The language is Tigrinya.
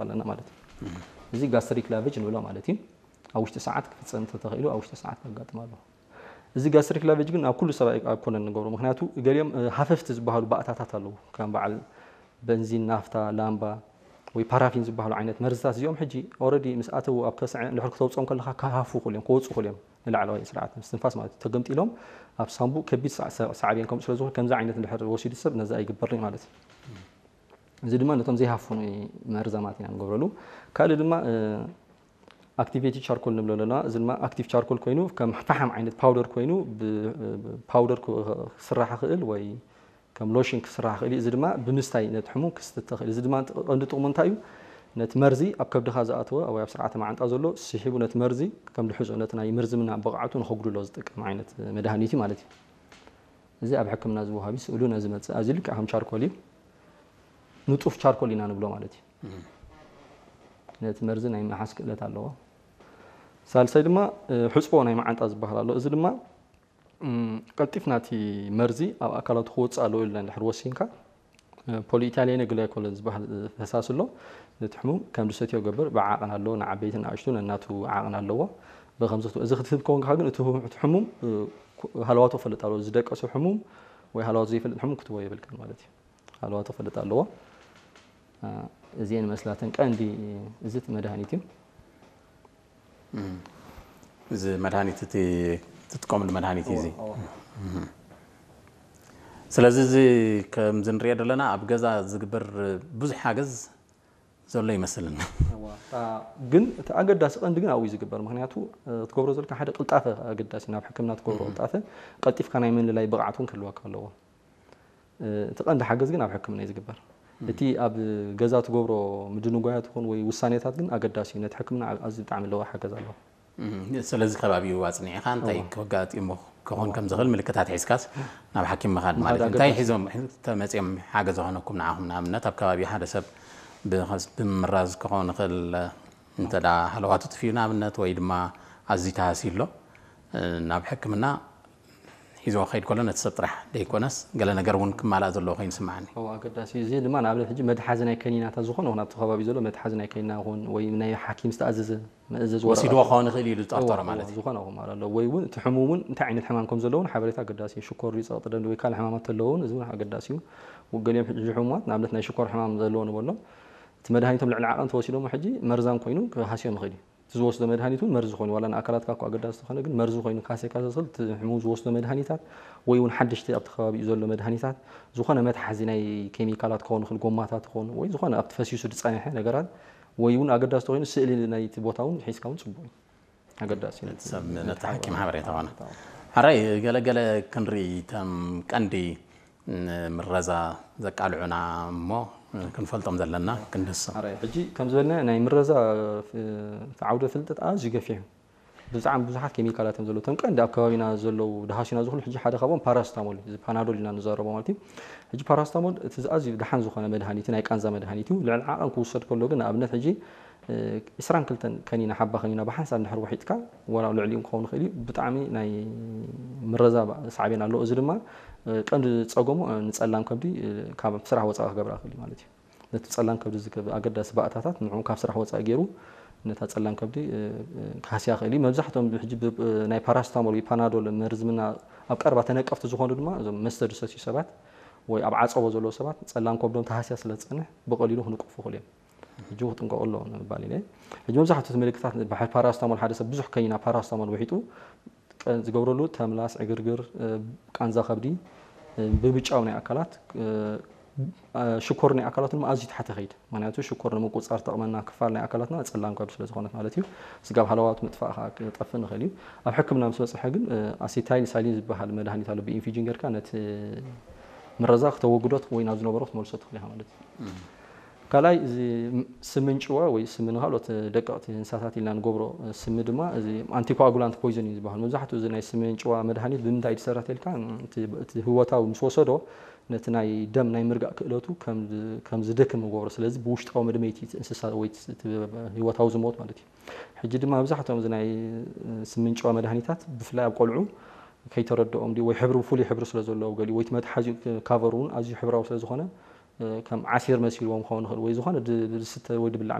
ኣለና ማለት እዩ። እዚ ጋስትሪክ ላቨጅ ንብሎ ማለት እዩ። ኣብ ውሽጢ ሰዓት ክፍፀም እንተተኽኢሉ ኣብ ውሽጢ ሰዓት ከጋጥም ኣለዎ። እዚ ጋስትሪክ ላቨጅ ግን ኣብ ኩሉ ሰብ ኣይኮነን ንገብሮ። ምክንያቱ ገሊኦም ሃፈፍቲ ዝበሃሉ ባእታታት ኣለዉ፣ ከም በዓል በንዚን፣ ናፍታ፣ ላምባ ወይ ፓራፊን ዝበሃሉ ዓይነት መርዝታት እዚኦም ሕጂ ኦረዲ ምስ ኣተዉ ኣብ ከስዐ እንድሕር ክተውፅኦም ከለካ ክሃፉ ክእሉ እዮም፣ ክወፁ ክእሉ እዮም። ንላዕለዋይ ስርዓት ምስትንፋስ ማለት እዩ ተገምጢሎም ኣብ ሳንቡእ ከቢድ ሳዕቤን ከምኡ ስለዝኾነ ከምዚ ዓይነት እንድሕር ወሲዱ ሰብ ነዚ ኣይግበርን ማለት እዩ። እዚ ድማ ነቶም ዘይሃፉ መርዛማት ኢና ንገብረሉ። ካልእ ድማ ኣክቲቬቲ ቻርኮል ንብሎ ኣለና። እዚ ድማ ኣክቲቭ ቻርኮል ኮይኑ ከም ፈሓም ዓይነት ፓውደር ኮይኑ ፓውደር ክስራሕ ክእል ወይ ከም ሎሽን ክስራሕ ክእል እዩ። እዚ ድማ ብምስታይ ነቲ ሕሙም ክስትተ ክእል። እዚ ድማ ቀንዲ ጥቕሙ እንታይ እዩ? ነቲ መርዚ ኣብ ከብድኻ ዝኣተወ ወይ ኣብ ስርዓተ መዓንጣ ዘሎ ስሒቡ ነቲ መርዚ ከም ድሕዞ ነቲ ናይ ምርዝምና ብቕዓቱ ንኸጉድሎ ዝጠቅም ዓይነት መድሃኒት እዩ ማለት እዩ። እዚ ኣብ ሕክምና ዝወሃብ እዩ። ስእሉ ነዚ መጽእ ኣዚ ልክዕ ከም ቻርኮል እዩ። ንጡፍ ቻርኮል ኢና ንብሎ ማለት እዩ። ነቲ መርዚ ናይ ምሓዝ ክእለት ኣለዎ። ሳልሳይ ድማ ሕፅቦ ናይ መዓንጣ ዝበሃል ኣሎ። እዚ ድማ ቀልጢፍ ናቲ መርዚ ኣብ ኣካላቱ ክወፅእ ኣለዎ ኢልና እንድሕር ወሲንካ ፖሊኢታሊያነ ግላይኮል ዝበሃል ፈሳሲ ኣሎ። ነቲ ሕሙም ከም ዝሰትዮ ገብር ብዓቕን ኣለዎ። ንዓበይትን ንኣሽቱ ነናቱ ዓቕን ኣለዎ። ብከምዚ እዚ ክትህብ ከውን ከኻ ግን እቲ ሕሙም ሃለዋቱ ክፈልጥ ኣለዎ። ዝደቀሱ ሕሙም ወይ ሃለዋቱ ዘይፈልጥ ሕሙም ክትቦ የብልካን ማለት እዩ። ሃለዋቱ ክፈልጥ ኣለዎ። እዚአን መስላተን ቀንዲ እዚ መድሃኒት እዩ። እዚ መድሃኒት እቲ ትጥቀምሉ መድሃኒት እዩ እዚ። ስለዚ እዚ ከምዚ ንሪኦ ዘለና ኣብ ገዛ ዝግበር ብዙሕ ሓገዝ ዘሎ ይመስልን። ግን እቲ ኣገዳሲ ቀንዲ ግን ኣብኡ ዝግበር ምክንያቱ ክትገብሮ ዘለካ ሓደ ቅልጣፈ ኣገዳሲ ናብ ሕክምና ትገብሮ ቅልጣፈ ቀልጢፍካ ናይ ምልላይ ብቕዓት እውን ክህልወካ ኣለዎ። እቲ ቀንዲ ሓገዝ ግን ኣብ ሕክምና እዩ ዝግበር። እቲ ኣብ ገዛ ትገብሮ ምድንጓያት ይኹን ወይ ውሳኔታት ግን ኣገዳሲ እዩ። ነቲ ሕክምና ኣዝዩ ብጣዕሚ ለዋህ ሓገዝ ኣለዎ። ስለዚ ከባቢኡ ኣፅኒዕኻ እንታይ ከጋጢሙ ክኾን ከም ዝኽእል ምልክታት ሒዝካስ ናብ ሓኪም ምኻድ ማለት እዩ። እንታይ ሒዞም ተመፅኦም ሓገዝ ዝኾነኩም ንዓኹም? ንኣብነት ኣብ ከባቢ ሓደ ሰብ ብምምራዝ ክኾን ይኽእል፣ እንተ ሃለዋቱ ጥፊኡ ንኣብነት ወይ ድማ ኣዝዩ ተሃስዩ ኣሎ ናብ ሕክምና ሒዝዎ ክኸይድ ከሎ ነቲ ሰብ ጥራሕ ደይኮነስ ገለ ነገር እውን ክማላእ ዘለዎ ኮይኑ ይስምዓኒ። እዎ ኣገዳሲ እዩ። እዚ ድማ ንኣብነት ሕጂ መትሓዚ ናይ ከኒናታት ዝኾነ ይኹን ኣብቲ ከባቢ ዘሎ መትሓዚ ናይ ከኒና ይኹን ወይ ናይ ሓኪም ዝተኣዘዘ መእዘዚ ወረቐት ወሲድዎ ክኸውን ይኽእል እዩ ኢሉ ዝጠርጠሮ እዎ፣ ማለት እዩ። ዝኾነ ይኹን ማለት ኣሎ ወይ እውን እቲ ሕሙም እውን እንታይ ዓይነት ሕማም ከም ዘለዎ እውን ሓበሬታ ኣገዳሲ እዩ። ሽኮር ድዩ ጸቕጢ ደም ድዩ ወይ ካልእ ሕማማት ተለዎ እውን እዚ እውን ኣገዳሲ እዩ። ገሊኦም ሕጂ ሕሙማት ንኣብነት ናይ ሽኮር ሕማም ዘለዎ ንበሎም እቲ መድሃኒቶም ልዕሊ ዓቐን ተወሲዶሞ ሕጂ መርዛም ኮይኑ ክሃስዮም ይኽእል እዩ። እቲ ዝወስዶ መድሃኒት እውን መርዚ ኮይኑ ዋላ ንኣካላትካ እኳ ኣገዳሲ ዝኾነ ግን መርዚ ኮይኑ ካሴካ ዘስል እቲ ሕሙም ዝወስዶ መድሃኒታት ወይ እውን ሓደሽቲ ኣብቲ ከባቢኡ ዘሎ መድሃኒታት ዝኾነ መትሓዚ ናይ ኬሚካላት ክኸውን ይኽእል ጎማታት ይኸውን ወይ ዝኾነ ኣብቲ ፈሲሱ ዝፀንሐ ነገራት ወይ እውን ኣገዳሲ ተኮይኑ ስእሊ ናይቲ ቦታ እውን ሒዝካ እውን ፅቡቅ እዩ ኣገዳሲ እዩ ነቲ ሰብ ነቲ ሓኪም ሓበሬታ ኾነ ሓራይ ገለገለ ክንርኢ ተም ቀንዲ ንምረዛ ዘቃልዑና እሞ ክንፈልጦም ዘለና ክንድሶም። ሕጂ ከም ዝበልና ናይ ምረዛ ዓውደ ፍልጠት ኣዝዩ ገፊሕ እዩ። ብጣዕሚ ብዙሓት ኬሚካላት እዮም ዘለዉ። እቶም ቀንዲ ኣብ ከባቢና ዘለዉ ድሃሲና ዝኽሉ ሕጂ ሓደ ካብኦም ፓራስታሞል እዩ። እዚ ፓናዶል ኢና ንዛረቦ ማለት እዩ። ሕጂ ፓራስታሞል እቲ ኣዝዩ ደሓን ዝኾነ መድሃኒት ናይ ቃንዛ መድሃኒት እዩ። ልዕሊ ዓቐን ክውሰድ ከሎ ግን ንኣብነት ሕጂ ዕስራን ክልተን ከኒና ሓባ ከኒና ብሓንሳብ እንድሕር ውሒጥካ ዋላ ልዕሊኡ ክኸውን ይኽእል እዩ። ብጣዕሚ ናይ ምረዛ ሳዕቤን ኣለዎ። እዚ ድማ ቀንዲ ፀገሙ ንፀላም ከብዲ ካብ ስራሕ ወፃኢ ክገብራ ይኽእል እዩ ማለት እዩ። ነቲ ፀላም ከብዲ ዝገብር ኣገዳሲ ባእታታት ንዕኡ ካብ ስራሕ ወፃኢ ገይሩ ነታ ፀላም ከብዲ ክሃስያ ይኽእል እዩ። መብዛሕትኦም ሕጂ ናይ ፓራስታሞል ወይ ፓናዶል መርዝምና ኣብ ቀረባ ተነቀፍቲ ዝኾኑ ድማ እዞም መስተ ዝሰትዩ ሰባት ወይ ኣብ ዓፀቦ ዘለዉ ሰባት ፀላም ከብዶም ተሃስያ ስለ ዝፀንሕ ብቐሊሉ ክንቀፉ ይኽእሉ እዮም። ሕጂ ክጥንቀቑ ኣለዎ ንምባል ኢለ። ሕጂ መብዛሕትኡ እቲ ምልክታት ፓራስታሞል ሓደ ሰብ ብዙሕ ከኒና ፓራስታሞል ውሒጡ ዝገብረሉ ተምላስ፣ ዕግርግር፣ ቃንዛ ከብዲ፣ ብብጫው ናይ ኣካላት ሽኮር ናይ ኣካላት ድማ ኣዝዩ ታሕቲ ከይድ። ምክንያቱ ሽኮር ንምቁፅፃር ትጠቕመና ክፋል ናይ ኣካላትና ፀላም ከብዲ ስለ ዝኾነት ማለት እዩ። ስጋብ ሃለዋት ምጥፋእ ከዓ ክጠፍእ ንኽእል እዩ። ኣብ ሕክምና ምስ በፅሐ ግን ኣሴታይል ሳሊን ዝበሃል መድሃኒት ኣሎ ብኢንፊጅን ጌርካ ነቲ ምረዛ ክተወግዶ ወይ ናብ ዝነበሮ ክትመልሶ ትኽእል ኢኻ ማለት እዩ። ካልኣይ እዚ ስሚ እንጭዋ ወይ ስሚ ንካልኦት ደቀቕቲ እንስሳታት ኢልና ንገብሮ ስሚ ድማ እዚ ኣንቲኮኣጉላንት ፖይዘን እዩ ዝበሃል። መብዛሕትኡ እዚ ናይ ስሚ እንጭዋ መድሃኒት ብምንታይ እዩ ዝሰራ ተልካ እቲ ህወታዊ ምስ ወሰዶ ነቲ ናይ ደም ናይ ምርጋእ ክእለቱ ከም ዝደክም ንገብሮ። ስለዚ ብውሽጣዊ መድመይቲ እቲ እንስሳ ወይ ህወታዊ ዝሞት ማለት እዩ። ሕጂ ድማ መብዛሕትኦም እዚ ናይ ስሚ እንጭዋ መድሃኒታት ብፍላይ ኣብ ቆልዑ ከይተረድኦም ድዩ ወይ ሕብሪ ብፍሉይ ሕብሪ ስለ ዘለዎ ገሊኡ ወይ እቲ መትሓዚኡ ካቨር እውን ኣዝዩ ሕብራዊ ስለ ዝኾነ ከም ዓሲር መሲልዎም ክኸውን ይኽእል ወይ ዝኾነ ዝስተ ወይ ዝብላዕ